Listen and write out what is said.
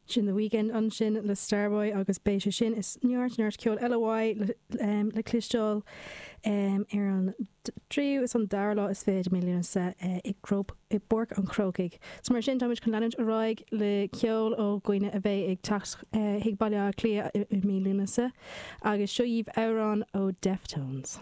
Sin The Weeknd ansin le Starboy agus beidh sé sin is neart neart ceoil eile uaidh le cloisteáil ar an dtríú is an dara lá is fiche de mí Lúnasa i bPáirc an Chrócaigh. So mar sin táimid chun leanúint ar aghaidh le ceol ó dhaoine a bheidh ag teacht chuig Baile Átha Cliath i mí Lúnasa agus seo dhaoibh amhrán ó Deftones.